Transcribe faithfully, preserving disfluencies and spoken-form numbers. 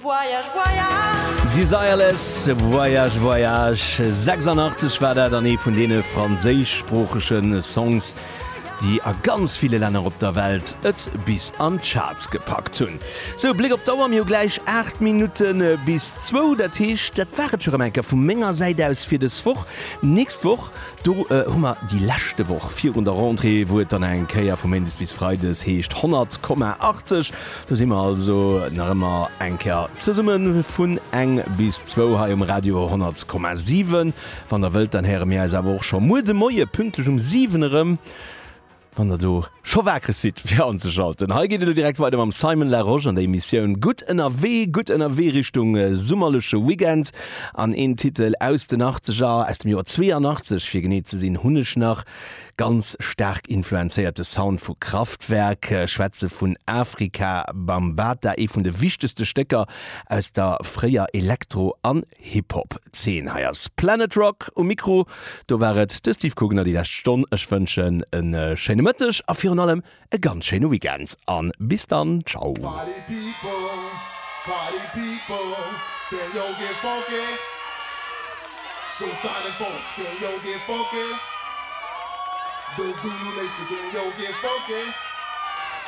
Voyage, voyage. Desireless, Voyage, Voyage. sechsundachtzeg war dat an ee vun deene franséischsproochege Songs, déi a ganz ville Länner op der Welt et bis an d'Charts gepackt hunn. Sou, Bléck op d'Auer, mir hu gläich aacht Minutte bis zwou. Dat heescht, dat war et scho rëm eng Kéier vu menger Säit aus fir dës Woch. Nächst Woch, do hu mer déi leschte Woch virun der Rentrée, wou et dann eng Kéier vu méindes bis freides heescht honnert Komma achtzeg. Do si mer also nach ëmmer eng Kéier zesumme vun eng bis zwou hei um Radio honnert Komma siwen. Wann der wëllt, dann héiere mir eis awer och scho muer de Moie pünktlech um siwen erëm, wann der do scho wakereg sidd fir anzeschalten. Hei geet et elo direkt weider mam Simon Larosche an der Emissioun Gutt ënnerwee, gutt ënnerwee Richtung summerleche Weekend. An een Titel aus den Achtzeger, aus dem Joer zweeanachtzeg fir genee ze sinn, hunn ech nach. Ganz staark influenzéiert de Sound vu Kraftwerk, schwätze vun Afrika Bambaataa, ee vun de wichtegste Stécker aus der fréier Elektro an Hip-Hop-Zeen. Hei ass Planet Rock um Mikro, do war et de Steve Kugner déi lescht Stonn. Ech wënschen e schéine Mëtteg a virun allem e ganz schéine Weekend an bis dann, ciao. Party people, party people, can yo get funky? Suicide and Force, can yo get funky? The Zulu Nation, can yo get funky?